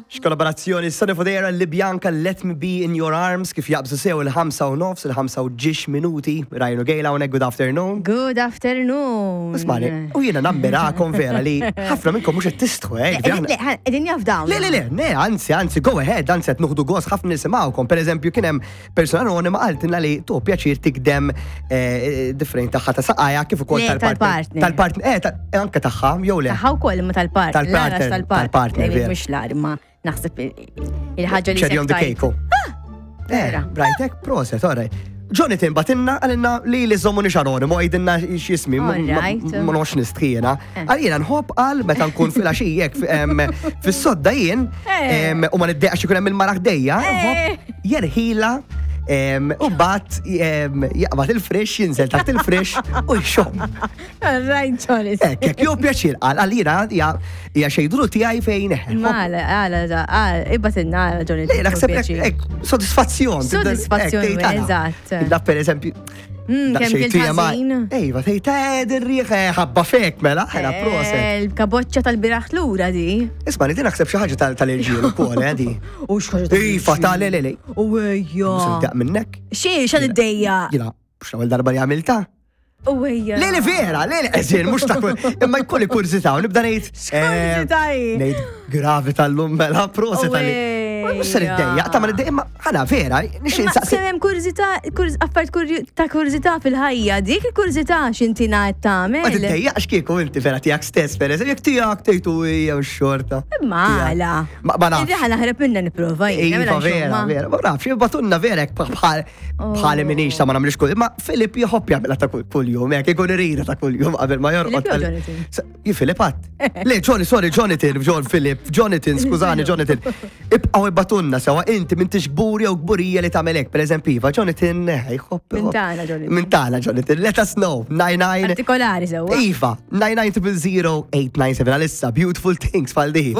X'kollaborazzjoni Sonny Fodera li Bianca Let Me Be In Your Arms kif jaqbżu sew il-5 u nofs, il-5 u ġiex minuti. Ryan u Gail hawnhekk good afternoon. Good afternoon. Ismani, u jiena nammirakom vera li ħafna minnkom mhux qed tistħu hekk. Le, qegħdin jafdaw. Le, le, le, le, anzi, anzi, go ahead, anzi qed nuħdu gost ħafna nisimgħukom. Per eżempju, kien hemm persuna anonima qaltilna li tu pjaċir tikdem eh, differenti tagħha ta' saqajja kif ukoll tal-partner. Tal-partner, eh, eh, anke tagħha jew le. Tagħha wkoll imma tal-partner. Tal-partner, tal-partner. Mhux l-arma, naħseb il-ħaġa li. Cherry on the cake. Ah! Eh, brajtek, proset, all right. Jonathan batinna għalinna li li zommu nix anonimu għidinna x'jismi, ma nox nistħijena. Eh. Għal jiena nħobb għal meta nkun fil-għaxijek fis-sodda jien eh. u ma niddeqax ikun hemm il-mara ħdejja, nħobb jerħila u bat jaqbad il-fresh, jinżel taħt il-fresh u jxomm. Right, Jonathan. Ekk, ekk, jew pjaċir għal għalina hija xejdru tiegħi fejn. Mala, għala, għala, ibbatilna għala Jonathan. Le, naħseb hekk, sodisfazzjon. Sodisfazzjon, eżatt. Da per eżempju, mm, kemm kien Ejva, tgħid eh, dir-riħ eh, ħabba fek mela, ħela eh, proset. Il-kaboċċa tal-biraħ lura di. Isma' li din naħseb xi ħaġa tal-irġiel ukoll, eh, di. U x'ħaġa tal Iva, ta' le le le. U ejja. Daq minnek. Xi xan id-dejja. Jina, mhux l-ewwel darba li għamilta. U ejja. Le le vera, le le, eżin, mhux ta' kull, imma jkolli kurżità u nibda ngħid. X'kurżità hi? Ngħid gravi tal-lum mela proset tal Mhux se niddejjaq, ta' ma niddejjaq, imma ħana vera, nixtieq Imma insaqsi. kemm hemm kurżità, kurż- affarijiet kurju- ta' kurżità fil-ħajja, dik il-kurżità x'inti ngħid Ma tagħmel. tiddejjaqx kieku inti vera tiegħek stess, per eżempju, jekk tiegħek tgħidu hija xorta. Imma għala. Ma ma nafx. Irriħa naħreb minna nipprova jien, Iva mela vera, insomma. vera, ma nafx, jibatunna vera hekk bħal bħali minix ta' ma nagħmlix kull, imma Filip jħobb jagħmilha ta' kull jum, hekk ikun irida ta' kull jum qabel ma jorqod. Filip jew Jonathan? Ji Filip għat. Le, Johnny, sorry, Jonathan, John Filip, Jonathan, skużani, Jonathan. Ibqgħu ibatunna sewa inti m'intix kburi jew kburija li tagħmel hekk, pereżempju, iva, Jonathan, eh, jħobb. Min tagħna, Jonathan. Min tagħna, Jonathan. Let us know. 99 Partikolari sewa. Iva, 99 0 897 għalissa, beautiful things fal di.